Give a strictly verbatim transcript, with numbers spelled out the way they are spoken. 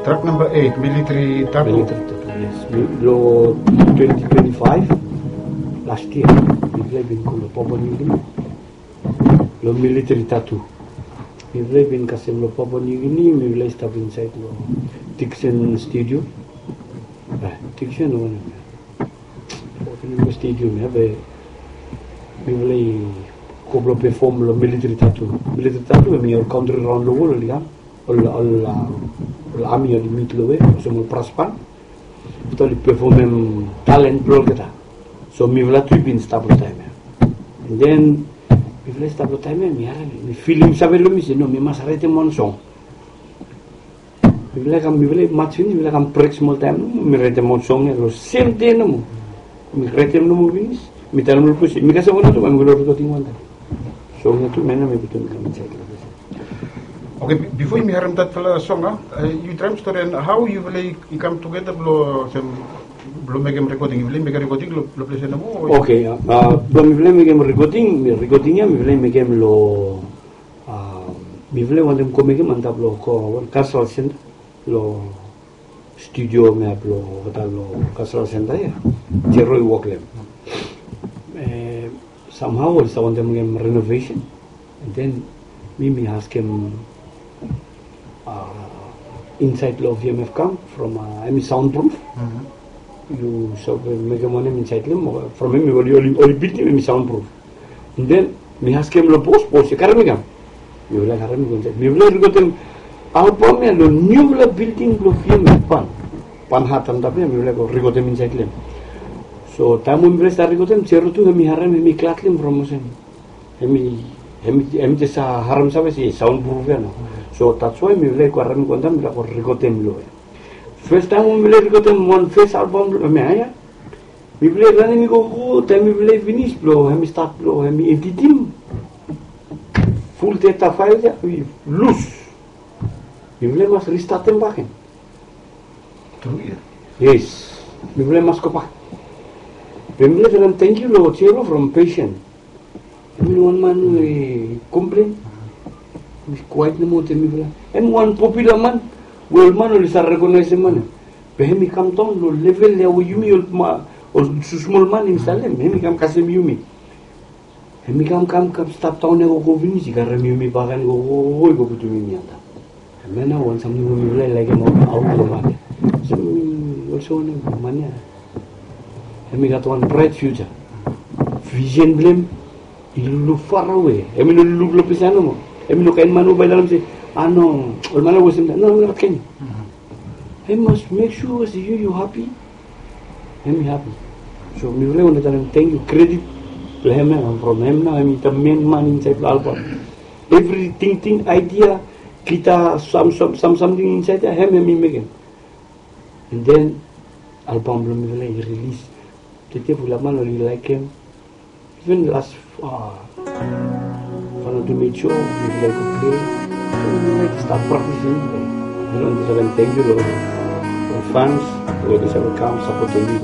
Track namba eit, Military Tattoo. Military Tattoo, yes. Mi, lo twenty twenty-five, last year, mifala i bin go lo Papua New Guinea. Lo Military Tattoo. Mifala i bin kasem lo Papua New Guinea, mifala i stap insaed lo Dixon Studio. Ah, Dixon o wanem ia. Wanem stadium ia, be mifala i go blo perform lo Military Tattoo. Military Tattoo, hemi ol kantri raon lo wol oli kam. Ol, ol, ah, ol ami oli mit lo we, olsem ol brass band. Afta oli pefomem talent blo olgeta. So mifala tu i bin stap lo taem ia. And then mifala i stap lo taem ia, mi harem, mi filim save lo mi se, no, mi mas raetem wan song. Mifala i kam, mifala i maj finis, mifala i kam brek smol taem nomo, mi raetem ol song ia lo sem dei nomo. Mi raetem nomo finis, mi talem lo bos se mi kasem wan tu, bae mi go lo rekoding wantaem. Song ia tu, mi putum i kam insaed lo bos. Oke, bi-, bifo yumi harem datfala song, a, yu traem storian hao yufala i kam tugeta blo sem, blo mekem rekoding, yufala i mekem rekoding lo, lo ples ia nomo? Oke, a, blo mifala i mekem rekoding, mi, rekoding ia mifala i mekem lo Ah, mifala i wantem go mekem antap lo ko, wan cultural center, lo studio mea blo olgeta lo cultural center ia. Jero i wok lo hem. Eh, somehow oli stap wantem mekem renovation. And then mi, mi askem, ah, insaed lo V M F kam from, ah, hemi soundproof. Yu save mekem wanem insaed lo hem, from hemi oli, oli, oli bildim hemi soundproof. And then mi askem lo bos, bos i karem mi kam. Mifala i karem mi go insaed. Mifala i rekodem album ia lo niufala bilding blo V M F, Pan. Pan Hat antap ia, mifala i go rekodem insaed lo hem. So taem we mifala i stat rekodem, Jero tu hemi harem, hemi glad lo hem from olsem. Hemi, hemi, hemi jes harem save se soundproof ia nao. So that's why mifala i go harem i go antap, mifala i go rekodem lo hem. Fes taem we mifala i rekodem wan fes album blo hem ia. Mifala i ranem i gogo, taem mifala i finis blo hemi stat blo hemi editim. Ful data file ia i lus. Mifala i mas ristatem bakegen. Tru ia? Yes. Mifala i mas gobak. Be mifala i talem tangkiu lo Jero from Patient. Hemi no wan man we komplen. Hemi kwaet nomo wetem mifala. Hemi wan popular man we ol man oli save rekonaesem man ia. Be hemi kamdaon lo level ia we yumi ol ma, ol smosmol man yumi save talem. Hemi kam kasem yumi. Hemi kam, kam, kam stap daon ia gogo finis, i karem yumi bakegen gogo, i go putum yumi antap. Hemia nao wan samting we mifala i laekem aot lo man ia. So mi olsem wanem man ia. Hemi gat wan bright future. Vision blo hem i luk farawe. Hemi no luk lo ples ia nomo. Hemi no kaen man we bae i talem se, a no, ol man ia i westem taem. No, hemi no gat kaen ia. Hemi mas mek sua se yu, yu hapi. Hemi hapi. So mifala i wantem talem tangkiu, kredit blo hem ia from hem nao, hemi the main man insaed lo album. Evri tingting, idea, gita, sam, sam, sam, samting insaed ia, hem, hemi mekem. And then album blo mifala i rilis. Tede fulap man oli laekem. Even last, ah, Vanuatu Made Show, mifala i go play. So mifala i stap praktisim. Mifala i wantem talem tangkiu lo ol fans we oli save kam sapotem mifala.